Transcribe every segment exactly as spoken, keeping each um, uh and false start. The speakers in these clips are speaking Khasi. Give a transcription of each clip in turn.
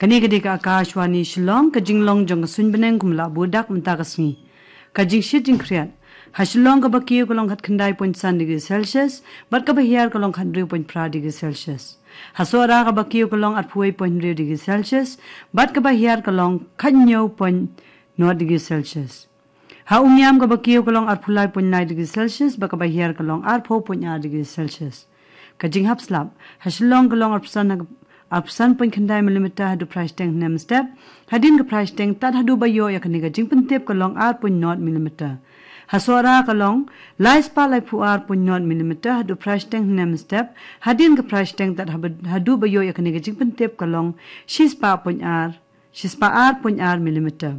Kane ka dei ka Akashvani Shillong, ka jinglong jong ka suiñ bneng kumba la buh dak mynta ka sngi. Ka jingshit jingkhriat. Ha Shillong kaba kiew ka long khatkhyndai point san degree Celsius, bad kaba hiar ka long khathynriew point phra degree Celsius. Ha Sohra kaba kiew ka long arphew wei point hynriew degree Celsius, bad kaba hiar ka long khathynñiew point nod degree Celsius. Ha Umiam kaba kiew ka long arphew lai point lai degree Celsius, bad kaba hiar ka long arphew point ar degree Celsius. Ka jinghap slap. Ha Shillong ka long arphew san, arphew san point khyndai millimeter haduh phra shiteng hynne mynstep. Hadien ka phra shiteng tad haduh ba ïoh ïa kane ka jingpyntip ka long ar point nod millimeter. Ha Sohra ka long lai spah laiphew ar point nod millimeter haduh phra shiteng hynne mynstep. Hadien ka phra shiteng tad haba-, haduh ba ïoh ïa kane ka jingpyntip ka long shi spah point ar, shi spah ar point ar millimeter.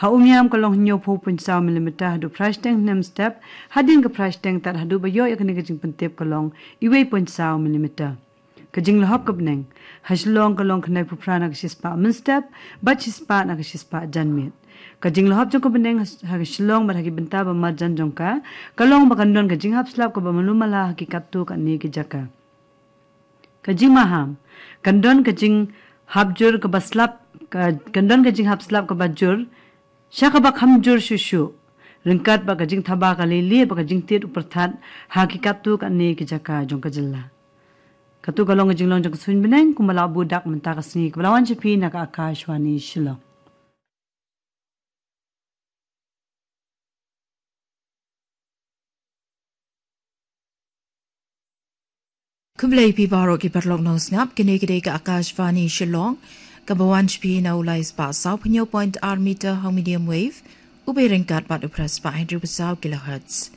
Ha Umiam ka long hynñiewphew point saw millimeter haduh phra shiteng hynne mynstep. Hadien ka phra shiteng tad haduh ba ïoh ïa kane ka jingpyntip ka long uwei point saw millimeter. Ka jinglahop ka bneng. Ha Shillong ka long khyndaiphew phra na ka shi spah mynstep, bad shi spah na ka shi spah janmiet. Ka jinglahop jong ka bneng ha, ha Shillong bad ha ki bynta ba marjan jong ka, ka long ba kan don ka jinghap slap kaba malu mala ha ki katto katne ki jaka. Ka jingmaham. Kan don ka jinghap jur kaba slap, ka, kan don ka jinghap slap kaba jur, sha kaba kham jur shuh shuh. Ryngkat bad ka jingthaba ka leilieh bad ka jingtied u pyrthat ha ki katto katne ki jaka jong ka jylla. Katto ka long ka jinglong jong ka suiñ bneng kumba la buh dak mynta ka sngi, kaba la wan sha phi na ka Akashvani Shillong. Khublei phi baroh ki paralok nongsngap, kine ki dei ka Akashvani Shillong, kaba wan sha phi na u lai spah sawphew hynñiew point ar meter ha u medium wave, u bei ryngkat bad u phra spah hynriewphew saw kilohertz.